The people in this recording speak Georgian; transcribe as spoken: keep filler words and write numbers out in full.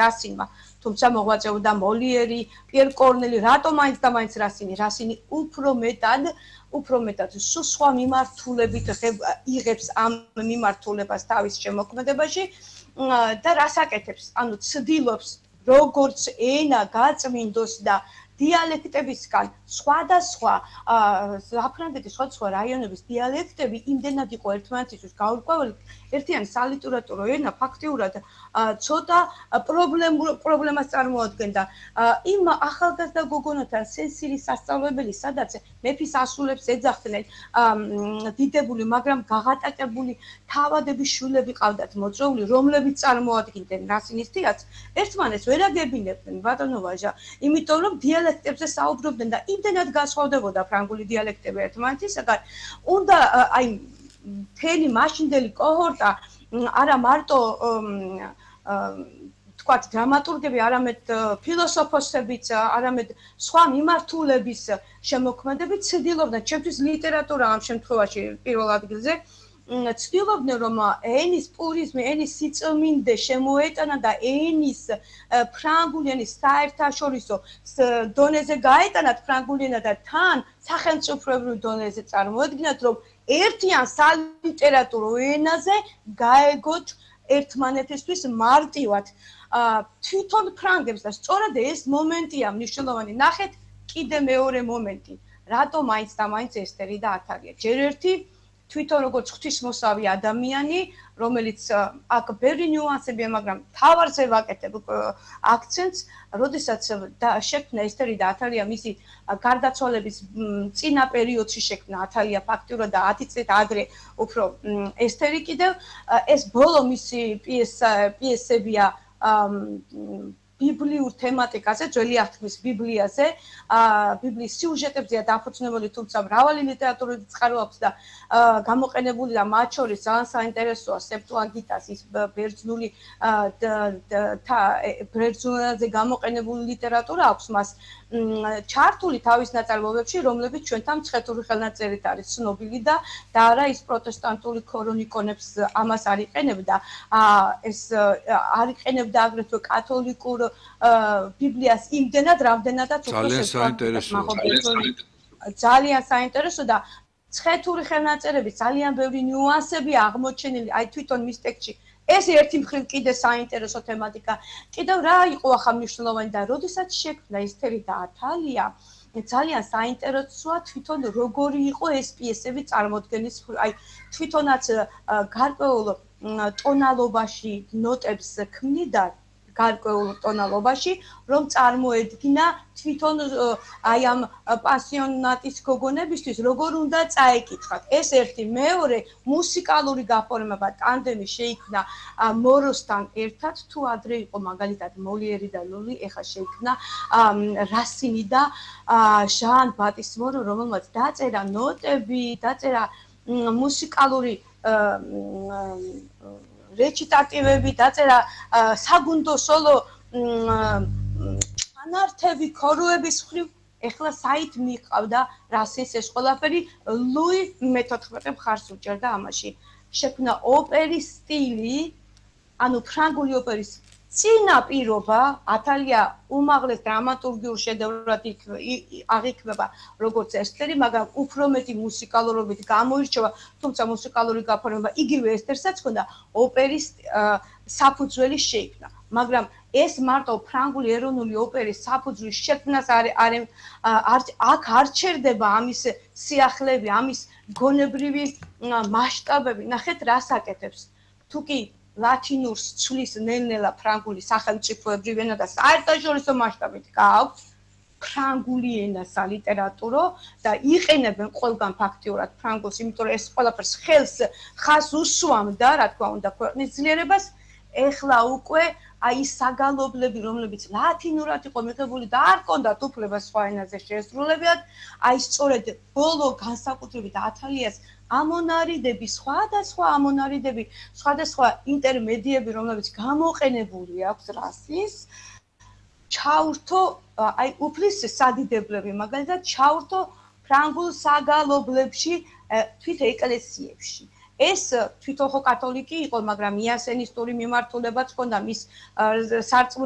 რასინმა. თუმცა მოღვაწეობდა მოლიერი, პიერ კორნელი, რატომ მაინც და მაინც რასინი? რასინი უფრო მეტად, უფრო მეტად სულ სხვა მიმართულებით იღებს ამ მიმართულებას თავის შემოქმედებაში და რას აკეთებს? ანუ ცდილობს როგორც ენა გაწმინდოს და დიალექტებისგან სხვადასხვა საფრანგეთის სხვადასხვა რაიონების დიალექტები იმდენად იყო ერთმანეთისთვის გაურკვეველი, ერთიანი სალიტერატურო ენა ფაქტიურად ცოტა პრობლემას წარმოადგენდა იმ ახალგაზრდა გოგონათა სენსირის სასწავლებელი, სადაც მეფის ასულებს ეძახდნენ დიდებული, მაგრამ გაღატაკებული თავადების შვილები ყავდათ მოწვეული, რომლებიც წარმოადგენდნენ რასინის თეატრს, ერთმანეთს ვერ აგებინებდნენ ბატონო ვაჟა, იმიტომ რომ დიალექტებზე საუბრობდნენ და იმდენად განსხვავდებოდა ფრანგული დიალექტები ერთმანეთისაგან, უნდა აი მთელი მაშინდელი კოჰორტა არა მარტო თქვათ დრამატურგები, არამედ ფილოსოფოსებიც, არამედ სხვა მიმართულების შემოქმედებით ცდილობდნენ, ჩემთვის ლიტერატურა ამ შემთხვევაში პირველ ადგილზე, ცდილობდნენ რომ ენის პურიზმი, ენის სიწმინდე შემოეტანა და ენის ფრანგული ენის საერთაშორისო დონეზე გაეტანათ ფრანგული ენა და თან სახელმწიფოებრივ დონეზე წარმოედგინათ, რომ ერთიან სალიტერატურო ენაზე გაეგოთ ერთმანეთისთვის მარტივად. თვითონ ფრანგებს და სწორედ ეს მომენტია მნიშვნელოვანი. ნახეთ კიდე მეორე მომენტი. რატომ მაინც და მაინც ესტერი და ათალია? ჯერ ერთი თვითონ როგორც ღვთისმოსავი ადამიანი, რომელიც აქ ბევრი ნიუანსებია, მაგრამ თავარზე ვაკეთებ აქცენტს, როდესაც შექმნა ესტერი და ათალია მისი გარდაცვალების წინა პერიოდში შექმნა ათალია ფაქტიურად და ათი წლით ადრე უფრო ესტერი კიდევ, ეს ბოლო მისი პიესებია ბიბლიურ თემატიკაზე, ძველი აღთქმის ბიბლიაზე, ბიბლიის სიუჟეტებზეა დაფუძნებული, თუმცა მრავალი ლიტერატურული წყარო აქვს და გამოყენებული და მათ შორის ძალიან საინტერესოა სეპტუაგინტას ის ბერძნული ბერძნულენაზე გამოყენებული ლიტერატურა აქვს მას ჩართული თავის ნაწარმოებებში, რომლებიც ჩვენთან მცხეთური ხელნაწერით არის ცნობილი და და არა ის პროტესტანტული ქრონიკონებს ამას არ იყენებდა, ეს არ იყენებდა აგრეთვე კათოლიკურ ბიბლიას იმდენად, რამდენადაც ძალიან საინტერესოა. ძალიან საინტერესო და მცხეთური ხელნაწერების ძალიან ბევრი ნიუანსებია აღმოჩენილი, აი თვითონ მის ტექსტში. ეს ერთი მხრივ კიდე საინტერესო თემატიკა. კიდევ რა იყო ახლა მნიშვნელოვანი და როდესაც შექმნა ესტერი და ათალია, ძალიან საინტერესოა თვითონ როგორი იყო ეს პიესები წარმოდგენის, აი თვითონაც გარკვეულ ტონალობაში ნოტებს ქმნიდა გარკვეულ ტონალობაში, რომ წარმოედგინა თვითონ აი ამ პასიონატის გოგონებისთვის როგორ უნდა წაეკითხათ. ეს ერთი, მეორე მუსიკალური გაფორმება ტანდემი შეიქმნა მოროსთან ერთად, თუ ადრე იყო მაგალითად მოლიერი და ლული, ეხლა შეიქმნა რასინი და ჟან ბატის მორო, რომელმაც დაწერა ნოტები, დაწერა მუსიკალური რეჩიტატივები, დაწერა საგუნდო სოლო ანართები, ქოროების მხრივ, ეხლა საით მიყავდა რასის ეს ყველაფერი, ლუი მეთოთხმეტე მხარს უჭერდა ამაში. შექმნა ოპერის სტილი, ანუ ფრანგული ოპერის წინა პირობა, ათალია უმაღლეს დრამატურგიულ შედევრად აღიქმება როგორც ესტერი, მაგრამ უფრო მეტი მუსიკალურობით გამოირჩევა, თუმცა მუსიკალური გაფორმება იგივე ესტერსაც ჰქონდა, ოპერის საფუძველი შეიქმნა. მაგრამ ეს მარტო ფრანგული ეროვნული ოპერის საფუძვლის შექმნას აქ არ ჩერდება ამის სიახლეები, ამის გონებრივი მასშტაბები. ნახეთ რას აკეთებს. თუკი ლათინურს ცვლის ნელ-ნელა ფრანგული სახელმწიფოებრივ ენა და საერთაშორისო მასშტაბით გააქვს ფრანგული ენა სალიტერატურო და იყენებენ ყველგან ფაქტიურად ფრანგულს, იმიტომ რომ ეს ყველაფერს ხელს ხას უსვამდა, რა თქმა უნდა, ქვეყნის ძლიერებას. ეხლა უკვე აი ის საგალობლები, რომლებიც ლათინურად იყო მიღებული და არ ჰქონდათ უფლება სხვა ენაზე შეესრულებიათ, აი სწორედ ბოლო განსაკუთრებით ათალიას ამონარიდები, სხვადასხვა ამონარიდები, სხვადასხვა ინტერმედიები, რომლებიც გამოყენებული აქვს რასის, ჩაურთო, აი უფლის სადიდებლები, მაგალითად ჩაურთო ფრანგულ საგალობლებში, თვით ეკლესიებში. ეს თვითონ ხო კათოლიკი იყო, მაგრამ იასენისტური მიმართულებაც ჰქონდა, მის სარწმუნო